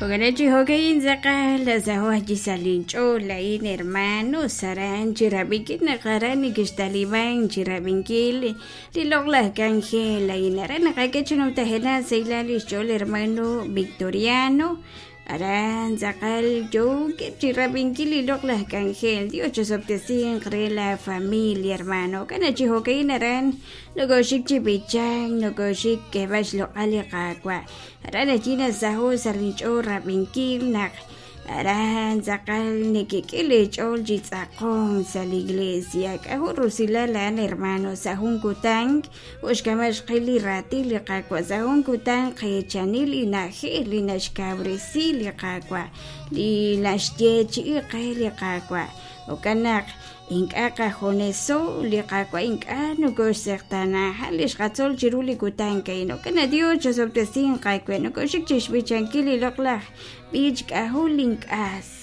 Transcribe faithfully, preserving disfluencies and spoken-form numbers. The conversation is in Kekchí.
Jo'kan chi jo'ka'in tz'aqal nasaho' chi sa' linch'ool laa'in hermano aran chi rab'inkil naq aran nekextaliban chi rab'inkil li loq'laj k'anjel a'in aran naqak'e chi numtajenaq sahilal lix ch'ool hermano Victoriano aran tz'aqal yookeb' chi rab'inkil li loq'laj k'anjel. Dios chosob'tesinq re la familia hermano. Jo'kan chi jo'ka'in aran nokoxik chi b'ichank nokoxik k'eeb'al xloq'al li Qaawa'. Aran ayi nasaho' sa' linch'ool rab'inkil naq aran tz'aqal nekek'e leech'ool chi tz'aqonk sa' li iglesia. K'ajo' rusilal a'an hermano sa' jun kutan jo' xk'ama xqil li raatin li Qaawa' sa' jun kutan qeechanil li na'ajej li naxkawresi li Qaawa' li naxyeechi'i qe li Qaawa'. Jo'kan naq ink'a' qajuneso li Qaawa' ink'a' nokoxseqtaana li xqatzol chiru li kutan a'in. Jo'kan naq Dios chosob'tesinq aawe nokoxik chixb'ichankil li loq'laj b'ich k'ajo' link'as.